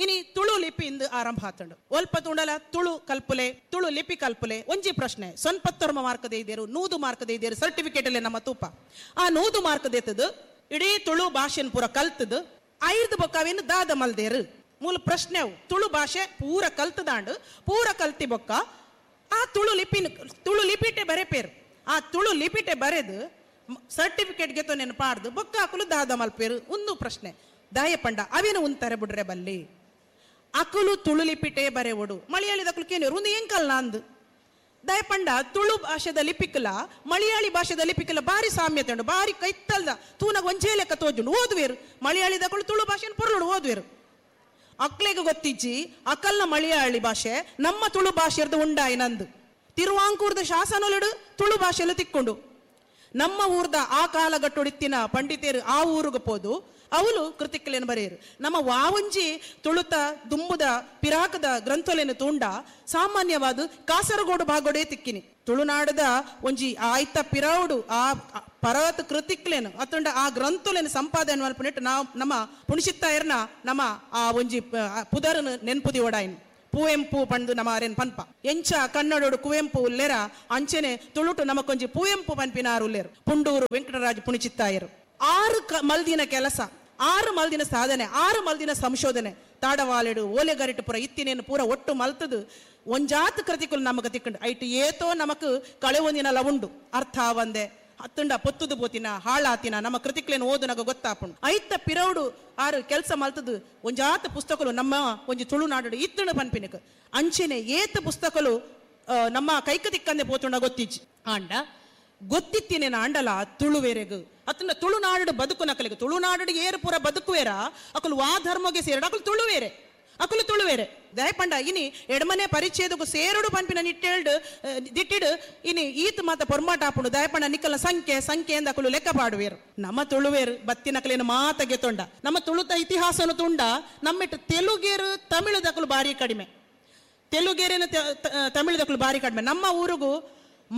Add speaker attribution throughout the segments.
Speaker 1: ಇನಿ ತುಳು ಲಿಪಿ ಇಂದು ಆರಂಭ ಆತಂಡು. ಒಲ್ಪ ತುಂಡಲ ತುಳು ಕಲ್ಪುಲೆ, ತುಳು ಲಿಪಿ ಕಲ್ಪುಲೆ. ಒಂಜಿ ಪ್ರಶ್ನೆ, 99 ಮಾರ್ಕ್ ದೇದೇರು, 100 ಮಾರ್ಕ್ ದೇದೇರು ಸರ್ಟಿಫಿಕೇಟ್ ಅಲ್ಲೇ ನಮ್ಮ ತೂಪ. ಆ 100 ಮಾರ್ಕ್ ದೇತದು ಇಡೀ ತುಳು ಭಾಷೆನ ಪೂರ ಕಲ್ತದು ಐರ್ದು ಬೊಕ್ಕವೇನು ದಾದ ಮಲ್ದೇರು ಮೂಲ ಪ್ರಶ್ನೆ. ಅವು ತುಳು ಭಾಷೆ ಪೂರ ಕಲ್ತದಾಂಡು, ಪೂರ ಕಲ್ತಿ ಬೊಕ್ಕ ಆ ತುಳು ಲಿಪಿನ ತುಳು ಲಿಪಿಟೆ ಬರೆಪೇರು. ಆ ತುಳು ಲಿಪಿಟೆ ಬರೆದು ಸರ್ಟಿಫಿಕೇಟ್ ಗೆತೋ ನೆನಪಾಡ್ದು ಬೊಕ್ಕ ಅಕುಲು ದಾದ ಮಲ್ಪೇರು ಒಂದು ಪ್ರಶ್ನೆ. ದಾಯ ಪಂಡ ಅವೇನು ಉಂತಾರೆ ಬುಡ್ರೆ ಬಲ್ಲಿ ಅಕುಲು ತುಳು ಲಿಪಿಟೆ ಬರೆವಡು ಮಲಯಾಳಿದ ಅಕುಲು ಕೇನಿರು ಒಂದು ಎಂಕಲ್ ಅಂದು. ದಯಪಂಡ ತುಳು ಭಾಷೆದ ಲಿಪಿಕಲ ಮಲಯಾಳಿ ಭಾಷೆದ ಲಿಪಿಕಲ ಬಾರಿ ಸಾಮ್ಯತೆ ಉಂಡು, ಬಾರಿ ಕೈತಲ್ದ ತೂನಾಗ ಒಂಜೇ ಲೆಕ್ಕ ತೋಜುಂಡು. ಓದುವೇರು ಮಲಯಾಳಿದಕುಲು ತುಳು ಭಾಷೆನ ಪೊರ್ಲುಡು ಓದುವೇರು. ಅಕ್ಲೆಗೆ ಗೊತ್ತಿಜ್ಜಿ ಅಕಲ್ನ ಮಲಯಾಳಿ ಭಾಷೆ ನಮ್ಮ ತುಳು ಭಾಷೆರ್ದು ಉಂಡಾಯಿ ನಂದು. ತಿರುವಾಂಕೂರ್ದ ಶಾಸನೊಲಿಡು ತುಳು ಭಾಷೆಯಲ್ಲೂ ತಿಕ್ಕೊಂಡು ನಮ್ಮ ಊರ್ದ ಆ ಕಾಲಗಟ್ಟೊಡಿತ್ತಿನ ಪಂಡಿತೇರು ಆ ಊರಿಗೆ ಪೋದು ಅವಳು ಕೃತಿಕಲೇನು ಬರೆಯರು. ನಮ್ಮ ವಾವಂಜಿ ತುಳುತ ದುಂಬುದ ಪಿರಾಕದ ಗ್ರಂಥಲೇನು ತೂಂಡ ಸಾಮಾನ್ಯವಾದ ಕಾಸರಗೋಡು ಭಾಗೋಡೇ ತಿಕ್ಕಿನಿ. ತುಳುನಾಡದ ಒಂಜಿ ಆಯ್ತ ಪಿರಾವುಡು ಆ ಪರ್ವತ ಕೃತಿಕ್ಲೇನು ಅತುಂಡ ಆ ಗ್ರಂಥಲೇನು ಸಂಪಾದನೆ ಮಲ್ಪನಿಟ್ಟು ನಾವು ನಮ್ಮ ಪುಣಿಸಿತ್ತಾಯರ್ನ ನಮ್ಮ ಆ ಒಂಜಿ ಪುದರನು ನೆನ್ಪುದಿ ಓಡಾಯಿನ ಪುವೆಂಪು ಪಂದು ನಮ್ಮ ಅರೇನ್ ಪನ್ಪ. ಎಂಚ ಕನ್ನಡೋಡು ಕುವೆಂಪು ಉಲ್ಲೇರ ಅಂಚೆನೆ ತುಳುಟು ನಮಕೊಂಜಿ ಪುವೆಂಪು ಪನ್ಪಿನಾರು ಉಲ್ಲೇರು ಪುಂಡೂರು ವೆಂಕಟರಾಜ್ ಪುಣಿಚಿತ್ತಾಯರು. 6 ಮಲ್ದಿನ ಕೆಲಸ, 6 ಮಲ್ದಿನ ಸಾಧನೆ, 6 ಮಲ್ದಿನ ಸಂಶೋಧನೆ ತಾಡವಾಲೆಡು ಓಲೆಗರಿಟು ಪೂರ ಇತ್ತಿನೇನು ಪೂರ ಒಟ್ಟು ಮಲ್ತದು ಒಂಜಾತ್ ಕೃತಿಕುಲು ನಮಗ ತಿಕ್ಕಂಡು ಐಟು ಏತೋ ನಮಕ್ ಕಳೆ ಒಂದಿನ ಲವುಂಡು ಅರ್ಥ ಆವಂದೆ ಹತ್ತುಂಡ ಪೊತ್ತುದು ಪೋತಿನ ಹಾಳಾತಿನ ನಮ್ಮ ಕೃತಿಕ್ಲೇನು ಓದುನಾಗ ಗೊತ್ತಾಪುಂಡು. ಐತ ಪಿರೌಡು ಆರು ಕೆಲಸ ಮಲ್ತದು ಒಂಜಾತ ಪುಸ್ತಕಲು ನಮ್ಮ ಒಂಜಿ ತುಳುನಾಡು ಇತ್ತುಂಡು ಪನ್ಪಿನಕ್ ಅಂಚೆನೆ ಏತ ಪುಸ್ತಕಲು ನಮ್ಮ ಕೈಕ ತಿಕ್ಕಂದೆ ಪೋತುಂಡ ಗೊತ್ತಿಜ್ಜಿ. ಆಂಡ ಗೊತ್ತಿತ್ತಿನೇನ ಆಂಡಲ ತುಳುವೇರೆಗು ಅತನ ತುಳುನಾಡು ಬದುಕು ನಕಲಿಗೆ ತುಳುನಾಡು ಏರು ಪೂರ ಬದುಕುವೇರ ಅಕಲು ವಾ ಧರ್ಮಗೆ ಸೇರಡು ಅಕಲು ತುಳುವೇರೆ ಅಕಲು ತುಳುವೇರೆ. ದಯಪಂಡ ಇನಿ ಎಡಮನೆ ಪರಿಚಯದಕ್ಕೂ ಸೇರುಡು ಪನ್ಪಿನ ನಿಟ್ಟೇಳ್ಡು ದಿಟ್ಟಿಡು ಇನಿ ಈತ ಮಾತ ಪೊರ್ಮಾಟ ಆಪುಂಡು. ದಯಪಂಡ ನಿಕ್ಕಲ ಸಂಖ್ಯೆ ಸಂಖ್ಯೆ ಎಂದ ಅಕಲು ಲೆಕ್ಕ ಪಾಡುವೇರು. ನಮ್ಮ ತುಳುವೇರು ಬತ್ತಿನಕಲೇನು ಮಾತ ಗೆತೊಂಡ ನಮ್ಮ ತುಳುತ ಇತಿಹಾಸನು ತುಂಡ ನಮ್ಮಿಟ್ಟು ತೆಲುಗೇರು ತಮಿಳುದಕಲು ಭಾರಿ ಕಡಿಮೆ, ತೆಲುಗೇರಿನ ತಮಿಳುದಕಲು ಭಾರಿ ಕಡಿಮೆ. ನಮ್ಮ ಊರಿಗೂ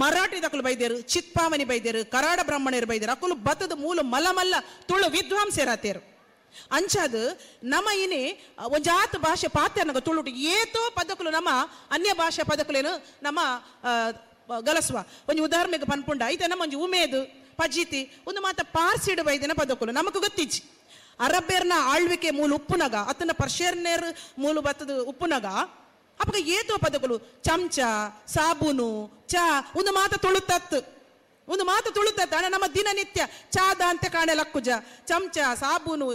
Speaker 1: ಮರಾಠಿ ದಕಲು ಬೈದೇರು, ಚಿತ್ಪಾವನಿ ಬೈದೇರು, ಕರಾಡ ಬ್ರಾಹ್ಮಣರು ಬೈದೇರು, ಅಕಲು ಬತ್ತದ ಮೂಲ ಮಲಮಲ್ಲ ತುಳು ವಿದ್ವಾಂಸರಾತೇರು. ಅಂಚಾದ ನಮ್ಮ ಇನಿ ಒಂಜಾತ ಭಾಷೆ ಪಾತ್ರನಗ ತುಳುಟು ಏತೋ ಪದಕಲು ನಮ್ಮ ಅನ್ಯ ಭಾಷೆ ಪದಕಲೇನು ನಮ್ಮ ಗಲಸುವ. ಒಂಜಿ ಉದಾಹರಣೆಗೆ ಪನ್ಪುಂಡ ಐತೆ ನಮ್ಮ ಒಂಜಿ ಉಮೇದು ಪಜಿತಿ ಒಂದು ಮಾತ ಪಾರ್ಸಿಡು ಬೈದಿನ ಪದಕಲು ನಮಕ್ ಗೊತ್ತಿಜ್ಜಿ. ಅರಬ್ಬೇರ್ನ ಆಳ್ವಿಕೆ ಮೂಲ ಉಪ್ಪುನಗ ಅತನ ಪರ್ಷಿಯರ್ನೇರ್ ಮೂಲ ಬತ್ತದ ಉಪ್ಪುನಗ ಅಪ್ಪಗ ಏತೋ ಪದಕಲು ಚಮಚ ಸಾಬೂನು ಚಾ ಒಂದು ಮಾತ ತುಳುತತ್ತು ಒಂದು ಮಾತು ತುಳುತತ್ತು. ಅಣ್ಣ ನಮ್ಮ ದಿನನಿತ್ಯ ಚಾದ ಅಂತ ಕಾಣೆ ಲಕ್ಕುಜ ಚಮಚ ಸಾಬೂನು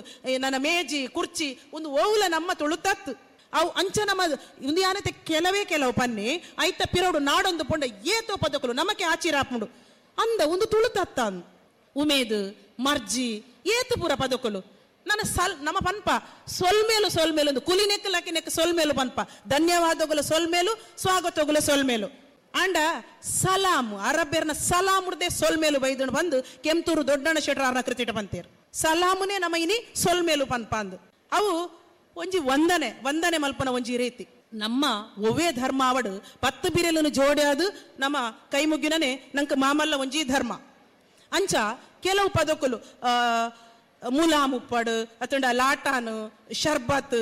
Speaker 1: ನನ್ನ ಮೇಜಿ ಕುರ್ಚಿ ಒಂದು ಓವುಲ ನಮ್ಮ ತುಳುತತ್ತು. ಅವು ಅಂಚ ನಮ್ಮ ಒಂದು ಯಾನತೆ ಕೆಲವೇ ಕೆಲವು ಪನ್ನಿ ಐತ ಪಿರೋಡು ನಾಡೊಂದು ಪೊಂಡ ಏತೋ ಪದಕಲು ನಮಕೆ ಆಚಿರಾಪುಂಡು ಅಂದ ಒಂದು ತುಳುತತ್ತ ಉಮೇದು ಮರ್ಜಿ ಏತು ಪೂರ ಪದಕಲು ನನ್ನ ಸಲ್ ನಮ್ಮ ಪನ್ಪ ಸೊಲ್ಮೇಲು ಸೊಲ್ಮೇಲು ಒಂದು ಕುಲಿ ನೆಕ್ಕಲಾಕಿ ನೆಕ್ಕ ಸೊಲ್ಮೇಲು ಪನ್ಪ ಧನ್ಯವಾದಗಳು ಸೊಲ್ಮೇಲು ಸ್ವಾಗತಗಳು ಸೊಲ್ಮೇಲು. ಅಂಡ ಸಲಾಮ್ ಅರಬ್ಯರ್ನ ಸಲಾಮ್ ಉಡ್ದೆ ಸೊಲ್ಮೇಲು ಬೈದಣ ಬಂದು ಕೆಂತೂರು ದೊಡ್ಡಣ್ಣ ಶೆಟ್ರಾರ್ನ ಕೃತಿಟ ಪಂತೇರು ಸಲಾಮುನೇ ನಮ್ಮ ಇನಿ ಸೊಲ್ಮೇಲು ಪನ್ಪ ಅಂದು. ಅವು ಒಂಜಿ ವಂದನೆ ವಂದನೆ ಮಲ್ಪನ ಒಂಜಿ ರೀತಿ. ನಮ್ಮ ಒವ್ವೇ ಧರ್ಮ ಅವಡು 10 ಬಿರೆಲನ್ನು ಜೋಡ್ಯಾದು ನಮ್ಮ ಕೈ ಮುಗ್ಗಿನನೆ ನಂಗೆ ಮಾಮಲ್ಲ ಒಂಜಿ ಧರ್ಮ. ಅಂಚ ಕೆಲವು ಪದಕಲು ಮುಲಾಮುಪ್ಪಡು ಅತಂಡ ಲಾಟಾನು ಶರ್ಬತ್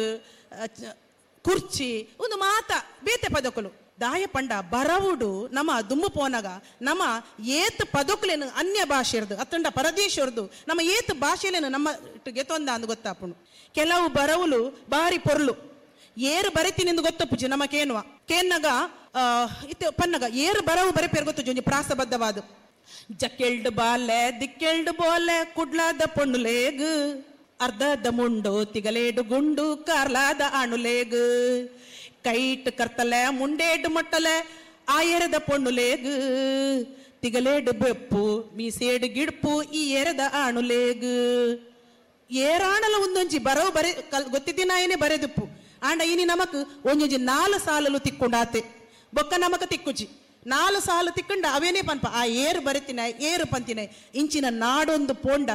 Speaker 1: ಕುರ್ಚಿ ಒಂದು ಮಾತ ಬೇತೆ ಪದಕಲು. ದಾಯ ಪಂಡ ಬರವುಡು ನಮ್ಮ ದುಮ್ಮು ಪೋನಗ ನಮ್ಮ ಏತ್ ಪದಕುಲೇನು ಅನ್ಯ ಭಾಷೆರ್ದು ಅತ್ತಂಡ ಪರದೇಶರ್ದು ನಮ್ಮ ಏತ್ ಭಾಷೆಲೇನು ನಮ್ಮ ಗೆತೊಂದ ಅಂದು ಗೊತ್ತಾಪುಂಡು. ಕೆಲವು ಬರವುಲು ಬಾರಿ ಪೊರ್ಲು ಏರು ಬರೆತಿನಿಂದು ಗೊತ್ತಪ್ಪುಜಿ ನಮ್ಮ ಕೇನುವ ಕೇನ್ನಗ ಇತ್ತೆ ಪನ್ನಗ ಏರು ಬರವು ಬರೆಪೇರು ಗೊತ್ತುಜಿ ಒಂಜಿ ಪ್ರಾಸಬದ್ಧವಾದ ಜಕ್ಕೆಲ್ಡು ಬಾಲೆ ದಿಕ್ಕೆಲ್ಡು ಬೋಲೆ ಕುಡ್ಲಾದ ಪೊಣ್ಣುಲೇಗ್ ಅರ್ಧದ ಮುಂಡು ತಿಗಲೇಡು ಗುಂಡು ಕಾರ್ಲಾದ ಅಣುಲೇಗ್ ಕೈಟ್ ಕರ್ತಲೆ ಮುಂಡೇಡು ಮಟ್ಟಲೆ ಆಯರದ ಪೊಣ್ಣುಲೇಗ್ ತಿಗಲೇಡು ಬೆಪ್ಪು ಮೀಸೇಡು ಗಿಡ್ಪು ಈ ಎರದ ಅಣುಲೇಗ್. ಏರಾಣಲ ಒಂದೊಂಜಿ ಬರವು ಬರೆ ಗೊತ್ತಿದ್ದೀನಾಯನೇ ಬರೆದುಪ್ಪು ಆಂಡ ಇನಿ ನಮಕ್ ಒಂಜೊಂಜಿ 4 ಸಾಲಲು ತಿಕ್ಕೊಂಡಾತೆ ಬೊಕ್ಕ ನಮಕ ತಿಕ್ಕುಜಿ 4 ಸಾಲು ತಿಕ್ಕಂಡ ಅವೇನೇ ಪನ್ಪ ಆ ಏರು ಬರೆತಿನ ಏರು ಪಂತಿನ ಇಂಚಿನ ನಾಡೊಂದು ಪೋಂಡ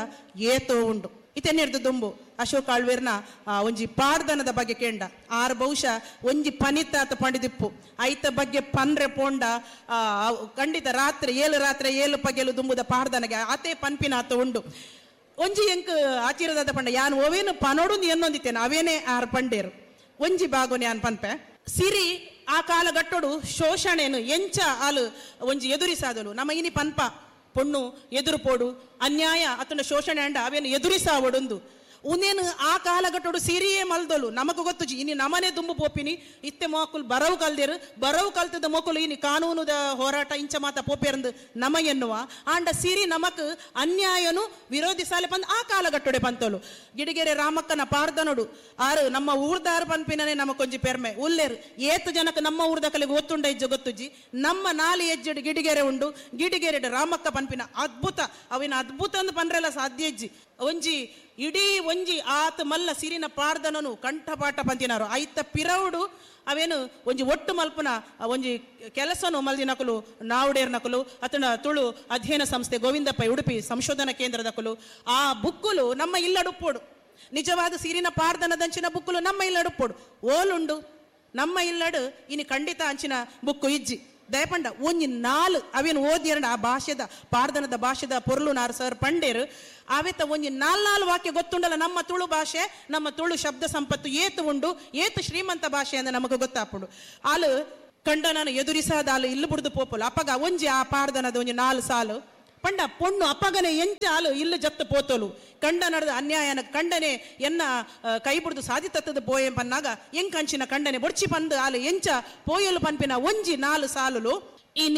Speaker 1: ಏತೋ ಉಂಡು. ಇತೆನ್ನೆರ್ದು ದುಂಬು ಅಶೋಕ್ ಆಳ್ವೇರ್ನ ಒಂಜಿ ಪಾಡ್ದನದ ಬಗ್ಗೆ ಕೇಂಡ ಆರು ಬಹುಶಃ ಒಂಜಿ ಪನಿತಾತ ಪಂಡಿದಿಪ್ಪು ಐತ ಬಗ್ಗೆ ಪನ್ರೆ ಪೋಂಡ ಖಂಡಿತ ರಾತ್ರಿ 7 ರಾತ್ರಿ 7 ಪಗೆಲು ದುಂಬುದ ಪಾಡ್ದನಗೆ ಆತೇ ಪನ್ಪಿನಾತ ಉಂಡು. ಒಂಜಿ ಎಂಕ್ ಆಚಿರದಾದ ಪಂಡ ಯಾನ್ ಓವೇನು ಪನೋಡು ಎನ್ನೊಂದಿತ್ತೇನೆ ಅವೇನೇ ಆರು ಪಂಡೇರು. ಒಂಜಿ ಬಾಗು ನ್ಯಾನ್ ಪನ್ಪೆ. ಸಿರಿ ಆ ಕಾಲಘಟ್ಟೋಡು ಶೋಷಣೆನು ಎಂಚ ಆಲು ಒಂಜಿ ಎದುರಿಸಾದಲು. ನಮ್ಮ ಇನಿ ಪನ್ಪ ಪೊಣ್ಣು ಎದುರು ಪೋಡು, ಅನ್ಯಾಯ ಅತಂಡ ಶೋಷಣೆ ಅಂಡ ಅವೇನು ಎದುರಿಸಾವಡುಂದು. ಉನೇನು ಆ ಕಾಲಘಟ್ಟೋಡು ಸಿರಿಯೇ ಮಲ್ದೋಲು. ನಮಕ್ ಗೊತ್ತುಜಿ ಇನಿ ನಮನೆ ದುಂಬು ಪೋಪಿನಿ. ಇತ್ತೆ ಮೋಕುಲು ಬರವು ಕಲ್ದೇರು, ಬರವು ಕಲ್ತದ ಮೋಕುಲು ಇನಿ ಕಾನೂನುದ ಹೋರಾಟ ಇಂಚ ಮಾತ ಪೋಪೇರಂದು ನಮ ಎನ್ನುವ. ಆಂಡ ಸಿರಿ ನಮಕ್ ಅನ್ಯಾಯನು ವಿರೋಧಿಸಾಲೆ ಪಂದ್ ಆ ಕಾಲಘಟ್ಟೋಡೆ ಪಂತೋಲು. ಗಿಡಿಗೆರೆ ರಾಮಕ್ಕನ ಪಾರ್ದನೋಡು ಆರು ನಮ್ಮ ಊರ್ದಾರು ಪನ್ಪಿನನೆ ನಮಕೊಂಜಿ ಪೆರ್ಮೆ ಉಲ್ಲೇರು. ಏತ್ ಜನಕ್ಕೆ ನಮ್ಮ ಊರ್ದಕಲಿಗೆ ಗೊತ್ತುಂಡ ಇಜ್ಜ ಗೊತ್ತುಜ್ಜಿ. ನಮ್ಮ ನಾಲಿ ಎಜ್ಜೆಡು ಗಿಡಿಗೆರೆ ಉಂಡು, ಗಿಡಿಗೆರೆಡು ರಾಮಕ್ಕ ಪನ್ಪಿನ ಅದ್ಭುತ, ಅವಿನ ಅದ್ಭುತ ಅಂದ್ ಪನ್ರೆಲ್ಲ ಸಾಧ್ಯ ಇಜ್ಜಿ. ಒಂಜಿ ಇಡೀ ಒಂಜಿ ಆತ ಮಲ್ಲ ಸಿರಿನ ಪಾರ್ದನನು ಕಂಠಪಾಠ ಪಂತಿನಾರು. ಐತ ಪಿರವುಡು ಅವೇನು ಒಂಜಿ ಒಟ್ಟು ಮಲ್ಪುನ ಒಂಜಿ ಕೆಲಸನು ಮಲ್ದಿನಕುಲು ನಾವುಡೇರ್ನಕುಲು ಅತನ ತುಳು ಅಧ್ಯಯನ ಸಂಸ್ಥೆ ಗೋವಿಂದಪ್ಪ ಉಡುಪಿ ಸಂಶೋಧನಾ ಕೇಂದ್ರದಕುಲು. ಆ ಬುಕ್ಕುಲು ನಮ್ಮ ಇಲ್ಲಡುಪ್ಪೋಡು, ನಿಜವಾದ ಸಿರಿನ ಪಾರ್ದನದಂಚಿನ ಬುಕ್ಕುಲು ನಮ್ಮ ಇಲ್ಲಡುಪ್ಪೋಡು. ಓಲುಂಡು ನಮ್ಮ ಇಲ್ಲಡು ಇನಿ ಖಂಡಿತ ಅಂಚಿನ ಬುಕ್ಕು ಇಜ್ಜಿ. ದಯಪಂಡ ಒಂಜಿ ನಾಲ್ ಅವೇನು ಓದಿಯರಂಡ ಆ ಭಾಷೆದ ಪಾರ್ದನದ ಭಾಷೆದ ಪೊರ್ಲು ನಾರು ಸರ್ ಪಂಡೇರು. ಅವೆತ ಒಂಜಿ ನಾಲ್ ನಾಲ್ ವಾಕ್ಯ ಗೊತ್ತುಂಡಲ್ಲ ನಮ್ಮ ತುಳು ಭಾಷೆ, ನಮ್ಮ ತುಳು ಶಬ್ದ ಸಂಪತ್ತು ಏತು ಉಂಡು, ಏತು ಶ್ರೀಮಂತ ಭಾಷೆ ಅಂದ್ರೆ ನಮಗೆ ಗೊತ್ತಾಪುಂಡು. ಆಲು ಕಂಡನನ್ನು ಎದುರಿಸಾದ ಆಲು ಇಲ್ಲು ಬುಡ್ದು ಪೋಪುಲು. ಅಪ್ಪಗ ಒಂಜಿ ಆ ಪಾರ್ದನದ ಒಂಜಿ ನಾಲ್ ಸಾಲು ಪಂಡ ಪೊಣ್ಣು ಅಪ್ಪಗನೆ ಎಂಚ ಆಲು ಇಲ್ಲು ಜತ್ತು ಪೋತೋಲು. ಕಂಡ ನಡೆದ ಅನ್ಯಾಯನ ಕಂಡನೆ ಎನ್ನ ಕೈ ಬುಡ್ದು ಸಾಧಿತತ್ತದ ಪೋಯಂ ಪನ್ನಾಗ ಎಂಕಂಚಿನ ಕಂಡನೆ ಬೊಡ್ಚಿ ಪಂದು ಆಲು ಎಂಚ ಪೋಯಲು ಪನ್ಪಿನ ಒಂಜಿ ನಾಲು ಸಾಲುಲು.